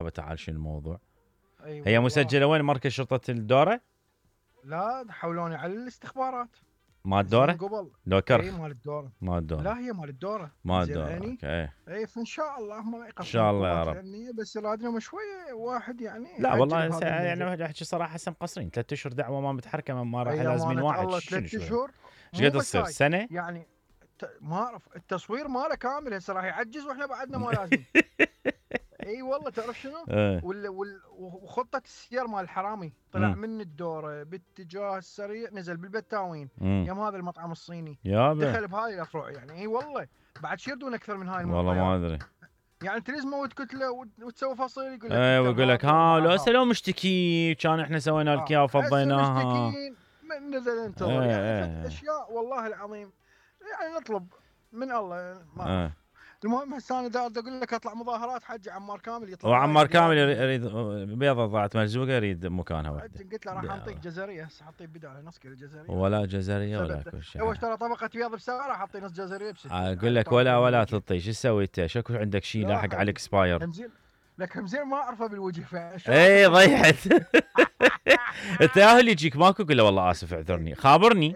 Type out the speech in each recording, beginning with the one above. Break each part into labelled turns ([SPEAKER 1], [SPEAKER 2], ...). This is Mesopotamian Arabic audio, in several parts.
[SPEAKER 1] يابا تعال شنو الموضوع.
[SPEAKER 2] أي
[SPEAKER 1] هي
[SPEAKER 2] والله.
[SPEAKER 1] مسجله وين؟ مركز شرطه الدوره؟
[SPEAKER 2] لا حولوني على الاستخبارات
[SPEAKER 1] مال الدوره؟
[SPEAKER 2] زين قبل.
[SPEAKER 1] لو
[SPEAKER 2] اي
[SPEAKER 1] كرخ
[SPEAKER 2] مال الدوره.
[SPEAKER 1] مال الدوره.
[SPEAKER 2] لا هي مال الدوره.
[SPEAKER 1] مال
[SPEAKER 2] زين
[SPEAKER 1] الدوره.
[SPEAKER 2] عيني.
[SPEAKER 1] اوكي.
[SPEAKER 2] اي فان شاء الله ما
[SPEAKER 1] ان شاء الله يا
[SPEAKER 2] القوات
[SPEAKER 1] رب.
[SPEAKER 2] الامنيه، بس رادنا شويه واحد يعني
[SPEAKER 1] لا
[SPEAKER 2] يعجل
[SPEAKER 1] والله
[SPEAKER 2] بهذا
[SPEAKER 1] يعني
[SPEAKER 2] الموضوع.
[SPEAKER 1] احكي صراحه هسه مقصرين 3 اشهر دعوه ما متحركه ما راح
[SPEAKER 2] اي
[SPEAKER 1] لازمين
[SPEAKER 2] امانه
[SPEAKER 1] واحد.
[SPEAKER 2] الله
[SPEAKER 1] شنو
[SPEAKER 2] 3 اشهر.
[SPEAKER 1] ايش
[SPEAKER 2] مو
[SPEAKER 1] قد
[SPEAKER 2] بس
[SPEAKER 1] تصير
[SPEAKER 2] هاي
[SPEAKER 1] سنه؟
[SPEAKER 2] يعني ما اعرف التصوير ماله كامل هسه راح يعجز واحنا بعدنا ما لازم. اي والله تعرف شنو؟
[SPEAKER 1] إيه.
[SPEAKER 2] وخطه السير مال الحرامي طلع من الدوره باتجاه السريع، نزل بالبتاوين يم هذا المطعم الصيني،
[SPEAKER 1] يابا
[SPEAKER 2] دخل بهاي الافرع. يعني اي والله بعد شو يردون اكثر من هاي
[SPEAKER 1] والله ما
[SPEAKER 2] المعطيات؟
[SPEAKER 1] ادري.
[SPEAKER 2] يعني انت لازم تموت كتله وتسوي فصيل يقول لك
[SPEAKER 1] ايه ويقول لك ها لو هسه لو مشتكي كان احنا سوينا لك اياه
[SPEAKER 2] هسه
[SPEAKER 1] وفضيناها.
[SPEAKER 2] مشتكين من نزل انتظر. يعني اشياء والله العظيم يعني نطلب من الله ما أعرف. المهم هسه انا اقول لك اطلع مظاهرات حج عمار كامل يطلع.
[SPEAKER 1] وعمار كامل يريد بيضه ضاعت مرزوقه يريد مكانها وحده.
[SPEAKER 2] قلت له راح انطيك جزريه هسه حطيه بدال نص كيلو جزريه.
[SPEAKER 1] ولا جزريه ولا كل شيء.
[SPEAKER 2] هو اشترى طبقه بيض بسعره حطي نص جزريه ب60.
[SPEAKER 1] اقول لك ولا تعطي. شو تسوي انت؟ شكو عندك شيء لاحق على الاكسباير؟
[SPEAKER 2] لك همزين ما اعرفه بالوجه.
[SPEAKER 1] اي ضيعت. انت يا اللي يجيك ماكو قول له والله اسف اعذرني خابرني.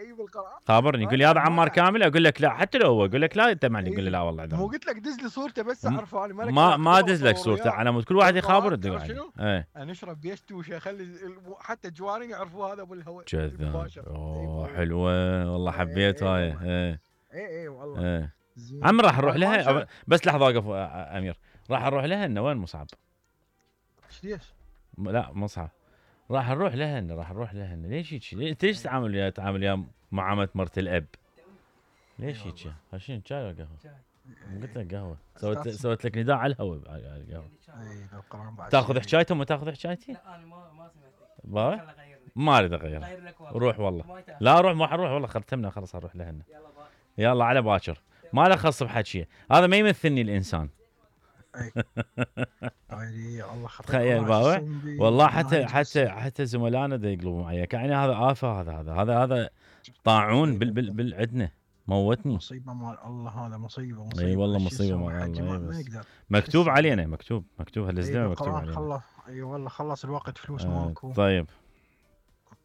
[SPEAKER 1] خابرني قول لي هذا عمار كامل اقول لك لا. حتى لو هو اقول لك لا انت معني قول لي لا والله اعذرني.
[SPEAKER 2] مو قلت لك دز لي صورته بس اعرفه انا
[SPEAKER 1] ما دز لك صورته على مود كل واحد يخابر الدنيا
[SPEAKER 2] شنو؟ انا اشرب بيشتوشه اخلي حتى الجوارين يعرفوا هذا ابو الهواء
[SPEAKER 1] كذاب. حلوه والله حبيت هاي.
[SPEAKER 2] اي والله.
[SPEAKER 1] عم راح نروح لها بس لحظه وقف امير. راح نروح لها انه وين مصعب؟
[SPEAKER 2] ليش؟
[SPEAKER 1] لا مصعب راح نروح لها ليش هيك؟ انت ليش تعامل ويا معامله مرت الاب؟ ليش هيك؟ شنو شاي ولا قهوه؟ قلت لك قهوه. سويت لك نداء على الهواء على القهوه. تاخذ حكايتهم وما تاخذ حكايتي؟ لا انا ما سمعت. ما اريد اغير. روح والله. لا روح ما حروح والله ختمنا خلاص اروح لهن. يلا على باكر. ما له خص بحكي هذا ما يمثلني الانسان.
[SPEAKER 2] الله
[SPEAKER 1] تخيل باوع والله حتى زملائنا دا يقلبوا معي يعني هذا آفة. هذا طاعون بالعدنه موتني.
[SPEAKER 2] مصيبه مال الله. هذا مصيبه.
[SPEAKER 1] اي والله مصيبه مال الله. مكتوب علينا مكتوب هالزلمه مكتوب علينا.
[SPEAKER 2] اي والله خلص الوقت فلوس ماكو.
[SPEAKER 1] طيب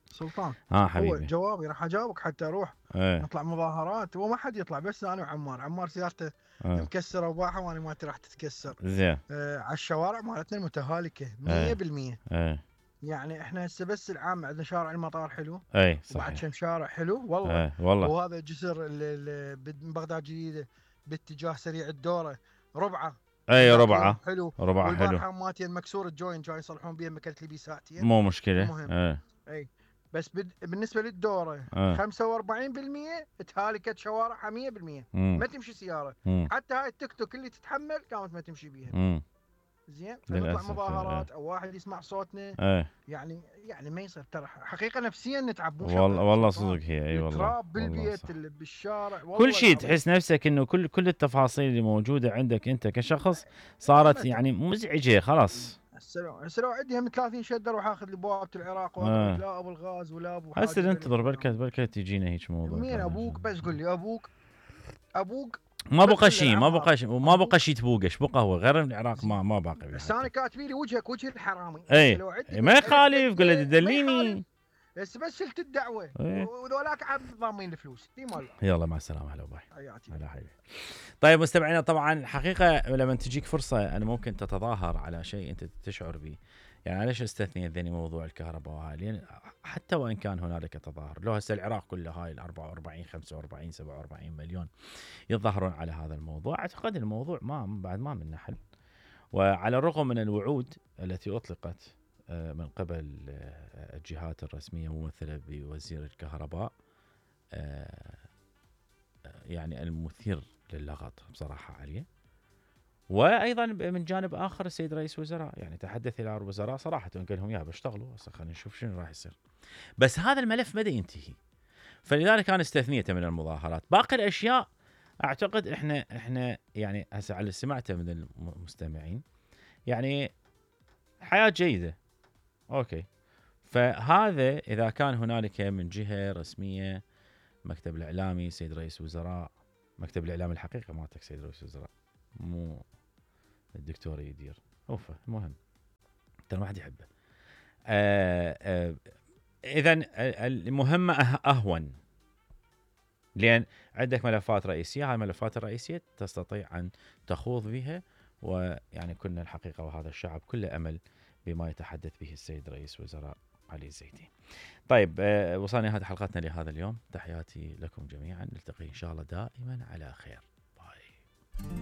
[SPEAKER 2] سلطان
[SPEAKER 1] حبيبي
[SPEAKER 2] هو جوابي راح اجاوبك حتى اروح نطلع مظاهرات. وما حد يطلع بس انا وعمار سيارته مكسره وباحه وانا مالتي راح تتكسر.
[SPEAKER 1] زين
[SPEAKER 2] على الشوارع مالتنا المتهالكه 100%. يعني احنا هسه بس العام عندنا شارع المطار حلو.
[SPEAKER 1] اي صحيح.
[SPEAKER 2] وبعد كم شارع حلو والله.
[SPEAKER 1] والله.
[SPEAKER 2] وهذا جسر بغداد جديده باتجاه سريع الدوره ربعه.
[SPEAKER 1] اي ربعه
[SPEAKER 2] حلو.
[SPEAKER 1] ربعه حلو.
[SPEAKER 2] والبارحه مالتي مكسور الجوين جاي يصلحون بيه مكلت لي بيه ساعتين.
[SPEAKER 1] مو مشكله.
[SPEAKER 2] اي بس بالنسبه للدوره 45% تهالكت شوارعها 100%. ما تمشي سياره. حتى هاي التيك توك اللي تتحمل كانت ما تمشي بيها. زين نطلع مظاهرات او واحد يسمع صوتنا. يعني ما يصير ترى حقيقه نفسيا نتعب.
[SPEAKER 1] والله صدق هي. اي والله
[SPEAKER 2] تراب بالبيت بالشارع
[SPEAKER 1] كل شيء تحس نفسك انه كل التفاصيل اللي موجوده عندك انت كشخص صارت يعني مزعجه خلاص.
[SPEAKER 2] هسه لو عندي هم 30 شده اروح اخذ لي بوابه العراق لا ابو الغاز ولا ابو حاجه.
[SPEAKER 1] هسه ننتظر بركه تجينا هيك موضوع.
[SPEAKER 2] مين ابوك؟ بس قول لي ابوك
[SPEAKER 1] ما بقى شيء ما بقى شيء تبوقش بقى هو غير العراق ما باقي.
[SPEAKER 2] بس انا كاتبي لي وجهك وجه الحرامي.
[SPEAKER 1] ما يخالف قول له تدليني
[SPEAKER 2] بس شلت الدعوه وذولاك عاد ضامين الفلوس دي مال.
[SPEAKER 1] يلا مع السلامه. هلا باي. هلا حبيبي. طيب مستمعينا طبعا حقيقه لما تجيك فرصه انا ممكن تتظاهر على شيء انت تشعر به. يعني ليش استثنيت ذني موضوع الكهرباء وهاي؟ لان حتى وان كان هنالك تظاهر لو هسه العراق كله هاي ال 44 45 47 مليون يتظاهرون على هذا الموضوع، اعتقد الموضوع بعد ما من حل. وعلى الرغم من الوعود التي اطلقت من قبل الجهات الرسميه ممثله بوزير الكهرباء يعني المثير للغط بصراحه عليه. وايضا من جانب اخر السيد رئيس وزراء يعني تحدث الى الوزراء صراحه قال لهم يا بشتغلوا هسه خلينا نشوف شنو راح يصير. بس هذا الملف بدا ينتهي فلذلك انا استثنيته من المظاهرات. باقي الاشياء اعتقد احنا يعني هسه على اللي سمعته من المستمعين يعني حياه جيده. اوكي فهذا اذا كان هنالك من جهه رسميه مكتب الاعلامي سيد رئيس وزراء مكتب الاعلام الحقيقه مالتك سيد رئيس وزراء مو الدكتور يدير المهم ترى ما حد يحبه. اذا المهمه اهون، لان عندك ملفات رئيسيه، هاي الملفات الرئيسيه تستطيع ان تخوض بها، ويعني كنا الحقيقه وهذا الشعب كله امل بما يتحدث به السيد رئيس وزراء علي الزيدي. طيب وصلنا نهاية حلقتنا لهذا اليوم، تحياتي لكم جميعا، نلتقي ان شاء الله دائما على خير. باي.